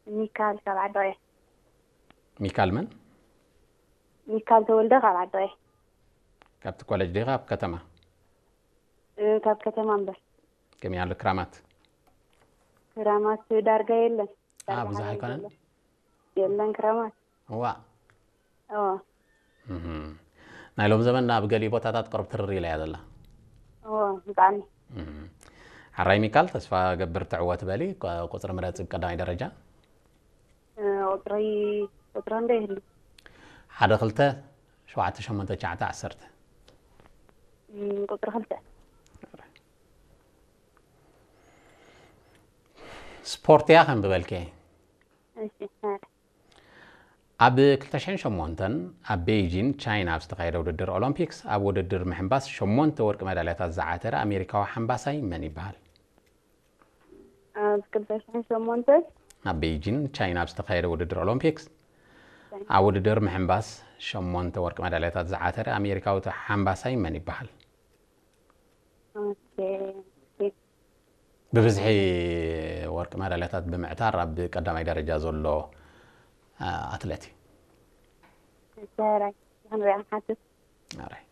ሚካል ካብ ዓዲ ቀይሕ። ሚካል መን? ሚካል ተወልደ ካብ ዓዲ ቀይሕ። ካብቲ ኮሌጅ ዲኻ ኣብ ከተማ? እ፣ ካብ ከተማ እምበር። ከመይ ኣሎ ክራማት? ክራማት ዳርጋ የለን። ኣ ዳርጋ ብዙሕ ሓደን ኣይኮነን? ዘሎ። የለን ክራማት። እዋ እዎ። እህ። ናይ ሎም ዘመን ኣብ ገሊኡ ቦታታት ቅርብ ትርር ኢላ እያ ዘላ። እዎ፣ ብጣዕሚ። እህ። ሕራይ ሚካል፣ ተስፋ ገብር ትዕወት በሊ። ቆ- ቁፅሪ ምረፂ ብቀዳማይ ደረጃ። እ፣ ቁፅሪ ቁፅሪ እንደ ይህሉ። ሓደ ክልተ ሸውዓተ ሸሞንተ ትሽዓተ ዓሰርተ። እም፣ ቁፅሪ ክልተ። ስፖርት እያ ከም ዝበልከ። እሺ፣ እ፣ ኣብ ክልተ ሽሕን ሸሞንተን ኣብ ቤይጂን ቻይና ኣብ ዝተኻየደ ውድድር ኦሎምፒክስ ኣብ ውድድር ምሕንባስ ሸሞንተ ወርቂ መዳልያታት ዝዓተረ ኣሜሪካዊ ሓንባሳይ መን ይበሃል? ኣብ ክልተ ሽሕን ሸሞንተ ኣብ ቤይጂን ቻይና ኣብ ዝተኻየደ ውድድር ኦሎምፒክስ ኣብ ውድድር ምሕንባስ ሸሞንተ ወርቂ መዳልያታት ዝዓተረ ኣሜሪካዊ ሓንባሳይ መን ይበሃል? ኦኬ። ብብዝሒ ወርቂ መዳልያታት ብምዕታር ኣብ ቀዳማይ ደረጃ ዘሎ ኣ፣ ኣትሌት እዩ። ሕራይ ክንሪኣ ንሓትት። ኣራይ።